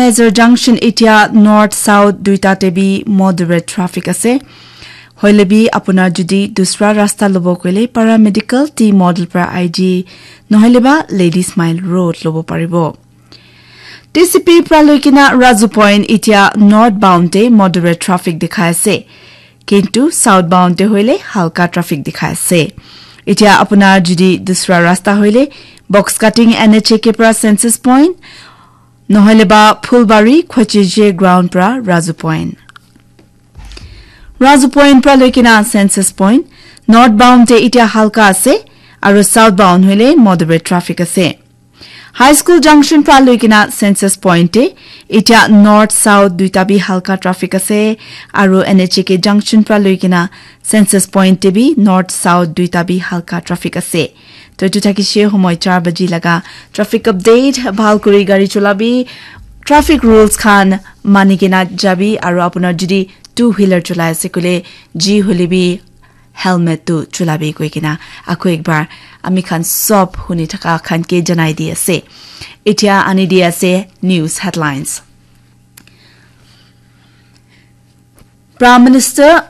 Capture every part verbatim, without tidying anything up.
Nazar Junction itia North South duita te bi moderate traffic ase. Hoile bi apunar jodi dusra rasta lobo koile paramedical team model pra I G nohole ba Ladies Mile Road lobo paribo. T C P pra loikena Razu Point itia northbound te moderate traffic dikhai ase. Kintu southbound te hoile halka traffic dikhai ase. Itia apunar jodi dusra rasta hoile box cutting N H A K pra Census Point, nohole ba Phulbari Khwacheje ground pra Razu Point. Razu Point pra loikena Census Point, northbound te itia halka ase, aru southbound hoile moderate traffic ase. High School Junction pra loikena Census Point te, itia north south duita bi halka traffic ase, aru N H A K Junction pra loikena Census Point te bi north south duita bi halka traffic ase. To etu thakishe homoi char baji laga traffic update, bhal kuri gari chulabi, traffic rules khan mani kena jabi, aru apunar jodi two wheeler chulai ase koile ji hoile bi helmet tu chulabi koi kena ako ekbar ami khan sob huni thaka khan ke janai di ase. Itia ani di ase news headlines. Prime Minister,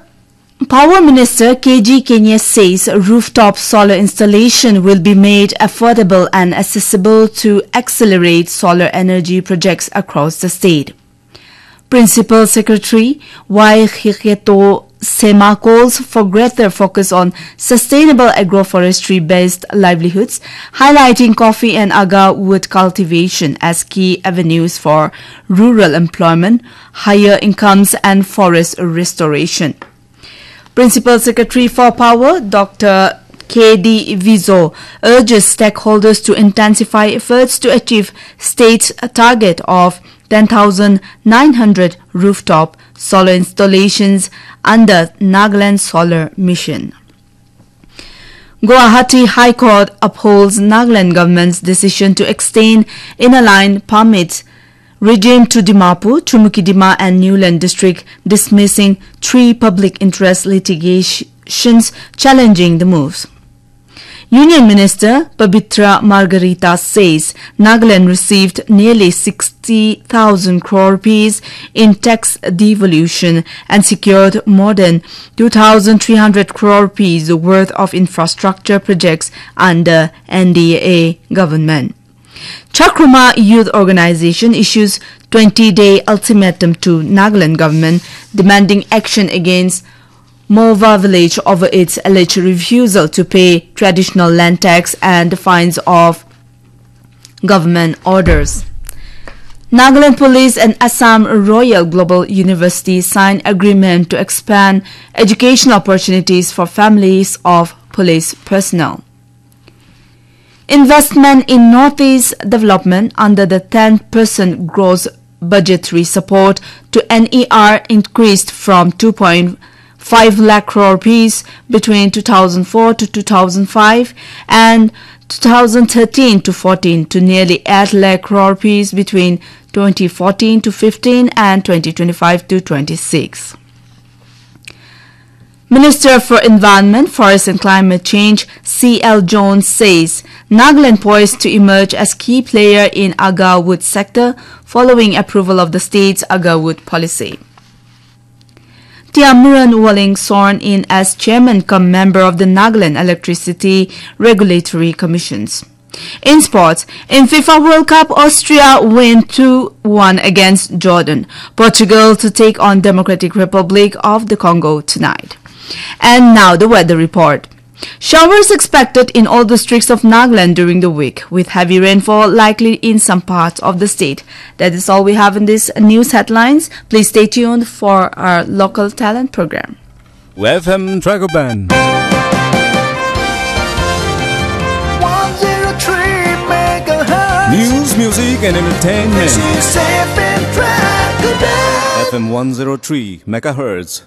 Power Minister K G Kenye says rooftop solar installation will be made affordable and accessible to accelerate solar energy projects across the state. Principal Secretary Y Hiketo Sema calls for greater focus on sustainable agroforestry-based livelihoods, highlighting coffee and agar wood cultivation as key avenues for rural employment, higher incomes, and forest restoration. Principal Secretary for Power, Doctor K D Vizo, urges stakeholders to intensify efforts to achieve state's target of ten thousand nine hundred rooftop solar installations under Nagaland Solar Mission. Guwahati High Court upholds Nagaland government's decision to extend Inner Line Permit regime to Dimapur, Chumukedima and Niuland district, dismissing three public interest litigations challenging the moves. Union Minister Pabitra Margherita says Nagaland received nearly sixty thousand crore rupees in tax devolution and secured more than two thousand three hundred crore rupees worth of infrastructure projects under N D A government. Chakruma Youth Organization issues twenty-day ultimatum to Nagaland government demanding action against Mova village over its alleged refusal to pay traditional land tax and fines of government orders. Nagaland Police and Assam Royal Global University sign agreement to expand education opportunities for families of police personnel. Investment in Northeast development under the ten percent gross budgetary support to N E R increased from two point five lakh crore rupees between two thousand four to two thousand five and two thousand thirteen to fourteen to nearly eight lakh crore rupees between twenty fourteen to fifteen and twenty twenty-five to twenty-six. Minister for Environment, Forest and Climate Change C L Jones says Nagaland poised to emerge as key player in agar wood sector following approval of the state's agar wood policy. Tiamuran Waling sworn in as chairman cum member of the Nagaland Electricity Regulatory Commissions. In sports, in FIFA World Cup, Austria win two one against Jordan. Portugal to take on Democratic Republic of the Congo tonight. And now the weather report. Showers expected in all districts of Nagaland during the week, with heavy rainfall likely in some parts of the state. That is all we have in this news headlines. Please stay tuned for our local talent program. F M Dragon Band. One zero three megahertz. News, music, and entertainment. This is F M Dragon Band. F M one zero three megahertz.